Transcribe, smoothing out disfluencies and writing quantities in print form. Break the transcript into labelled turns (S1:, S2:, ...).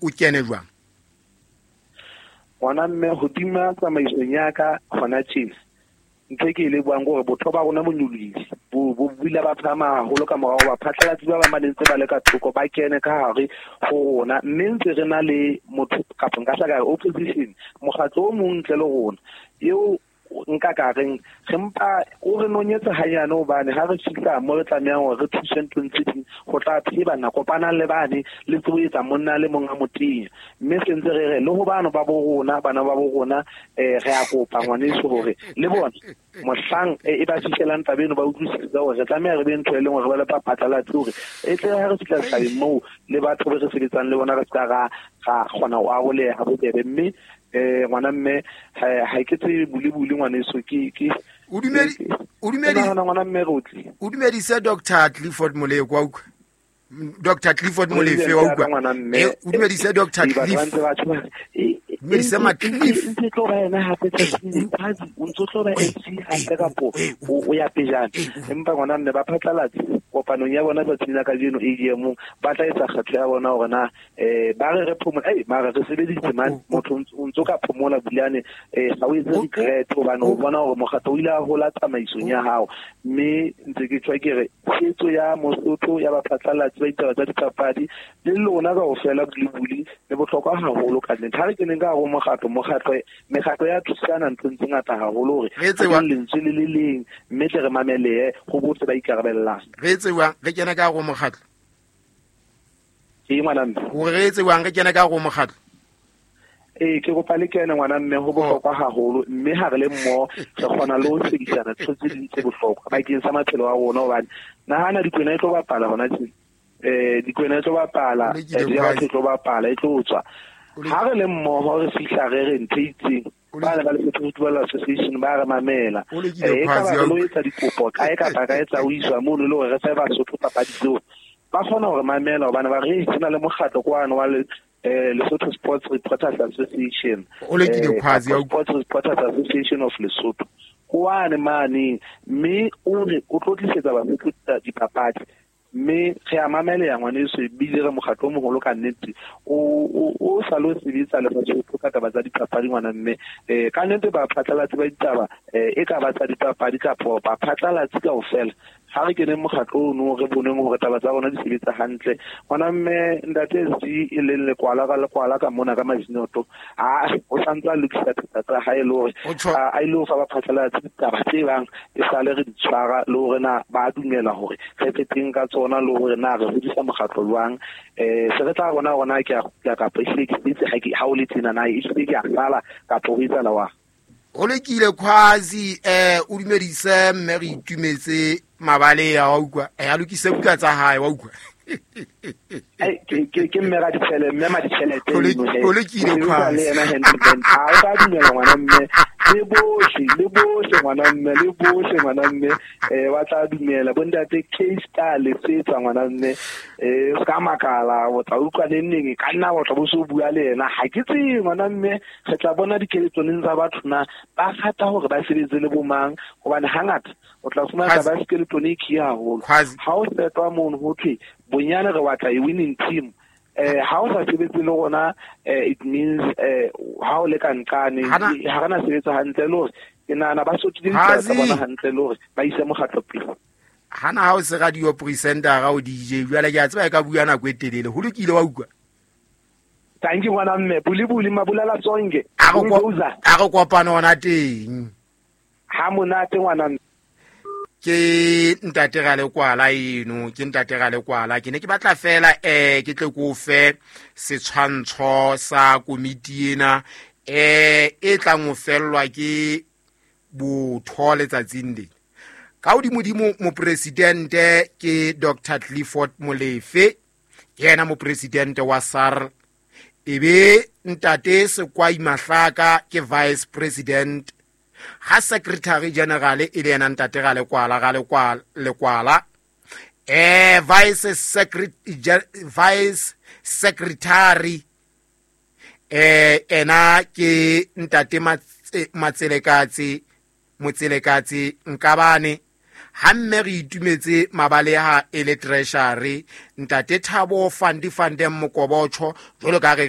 S1: o kene jwang?
S2: Ngwana mme, hodima tsamaisong ya ka hona tjena, ntho e ke e lebohang ke hore botho ba rona bo nyolohile, bo bile ba phahama haholo ka morao hoba phatlalatsi ba bang ba ne ntse ba le ka thoko ba kene ka hare ho rona, mme ntse re na le motho kapa nka hla ka re opposition, mokgatlo o mong ntle le rona eo nka ka reng re mpa o re nonyetsa hanyane, hobane ha re fihla mo re tlamehang hore re thuse nthong tse ding, ho tla pheba na kopanang le bane le tsebo etsa monna le mong a motenya. Mme se ntse re re le ho bano ba bo rona, bana ba bo rona, re a kopa ngwaneso hore le bona mohlang e ba fihlelang taba eno ba utlwisise hore re tlameha re be ntho e leng hore ba le phatlalatse hore e tle ha re fihla setjhabeng moo le batho be re sebetsang le bona re ska ra kgona ho aroleha bobebe. Mme ngwana mme, ha ke tsebe bule-bule ngwaneso, ke
S1: O dumedi, o dumedi,
S2: ke nahana ngwana mme re o tlile.
S1: O dumedise Doctor Clifford Moleko, wa utlwa? Doctor Clifford Molefe, wa utlwa?
S2: Ngwana mme.
S1: O dumedise Doctor
S2: Ee, batho ba
S1: Cliff.
S2: ntse ba tjho,
S1: Dumedise Macliff.
S2: ntse tlo ba yena hape tsatsing, Phazi, o ntso tlo ba MC hape kapo o ya pejana. Empa ngwana mme ba phatlalatse kopanong ya bona tsatsing la kajeno AGM, ba tla etsa kgetho ya bona hore na, ba re re phomola, mara re sebeditse man, motho o ntso ka phomola Bulane, ha o etse regret hobane o bona hore mokgatlo o ile a hola tsamaisong ya hao. Mme ntse ke tjho ke re tshehetso ya Mosotho ya baphatlalatsi ba ditaba tsa dipapadi le lona kaofela bule-bule le bohlokwa haholo ka nnete. Ha re keneng ka hare ho mokgatlo, mekgatlo ya thusana nthong tse ngata haholo hore
S1: Re etse wa-
S2: re lentswe le le leng, mme tle re mamelehe ho bohle ba ikarabellang.
S1: Re etse jwang? Re kene ka hare ho mokgatlo?
S2: Ee, ngwana mme.
S1: Hore re etse jwang? Re kene ka hare ho mokgatlo?
S2: Ee, ke kopa le kene ngwana mme, ho bohlokwa haholo, mme ha re le mmoho re kgona le ho sebedisana ntho tse ding tse bohlokwa bakeng sa maphelo a rona, hobane nahana Dikwena e tlo bapala hona tje. Dikwena e tlo bapala,
S1: O lekile
S2: ya batho
S1: Khwazi.
S2: e tlo bapala, e tlo tswa.
S1: O lekile.
S2: Ha re le mmoho re fihla re re ntho e itseng,
S1: O
S2: ba ne ba Lesotho Football Association ba re mamela.
S1: O lekile
S2: E ka
S1: Khwazi,
S2: ba re lo
S1: ya
S2: etsa dikopo kae kapa kae tsa ho iswa mono le hore re fe Basotho papadi tseo. Ba kgona hore mamela hobane ba re, Hey, ho na le mokgatlo kwano wa Lesotho Sports Reporters Association.
S1: O lekile Khwazi,
S2: Kapa
S1: ya utlwa.
S2: Sports Reporters Association of Lesotho. Kwane mane, mme o re o tlo tlisetsa Basotho dipapadi. Mme re a mameleha ngwaneso, ebile re mokgatlo o moholo ka nnete. O sa lo sebetsa le Basotho ka taba tsa dipapadi ngwana mme. Ka nnete baphatlalatsi ba ditaba, e ka ba tsa dipapadi kapa baphatlalatsi kaofela, ha re keneng mokgatlo ono re boneng hore taba tsa rona di sebetsa hantle. Ngwana mme, ntate SG e leng lekwala ka lekwala ka mona ka Majinoto, o santse a lokisa thata tsa hae le hore
S1: O tjho-
S2: a ile ho fa baphatlalatsi ditaba tse bang e sale re di tshwara, le hore na ba dumela hore re feteng ka tsona, le hore na re hodisa mokgatlo jwang. Se re tla bona hore na ke a kgutla kapa ehlile ke setse ha ke, ha o le tjena na ehlile ke a sala kapa ho etsahala wa.
S1: Ho lokile Khwazi, o dumedise mme re itumetse mabaleya, wa utlwa? A lokise buka tsa hae, wa utlwa?
S2: Ai, ke mme ra ditjhelete, mme ma ditjhelete
S1: O
S2: eno he.
S1: lokile,
S2: O sebetsa
S1: Khwazi.
S2: le yena hand in hand. Ha o ka dumela ngwana mme, le bohle, le bohle ngwana mme, le bohle ngwana mme, ba tla dumela. Bo ntate K Star le setsa ngwana mme, o ska makala, o tla utlwa neng neng, ka nna wa tla bo so bua le yena. Ha ke tsebe ngwana mme, re tla bona dikeletsong tsa batho na ba rata hore ba sebetse le bo mang, hobane hangata o tla fumana
S1: Khwazi.
S2: taba ya skeleton e khiya haholo.
S1: Khwazi.
S2: Ha o setwa mono ho thwe bonyane re batla e winning team. Ha o sa sebetse le rona, it means, ha o le ka nqane,
S1: Hana
S2: ha re na sebetsa hantle le hore ke nahana ba sotile ditaba tsa
S1: Khwazi.
S2: bona hantle le hore ba ise mokgatlo pele.
S1: Hana ha o se radio presenter o DJ, jwale ke a tseba e ka bua nako e telele. Ho lokile, wa utlwa?
S2: Thank you ngwana mme, buli buli mabulala sonke.
S1: A
S2: Bulldozer.
S1: re kopane hona teng.
S2: Ha monate ngwana mme.
S1: Ke ntate Ralekwala eno, ke ntate Ralekwala. Ke ne ke batla fela, ke tle ke o fe setshwantsho sa komiti ena, e tlang ho fellwa ke botho letsatsing lena. Ka hodimodimo mopresidente ke Doctor Clifford Molefe, ke yena mopresidente wa SARL. Ebe ntate Sekwai Mahlaka ke vice president, ha secretary general e le yena ntate Ralekwala, Ralekwala, Lekwala. Vice secretary, ena ke ntate Matselekatse, Motselekatse Nkabane. Ha mme re itumetse mabaleha e le treasury, ntate Thabo Fandi Fandem Mokobotjho, jwalo ka re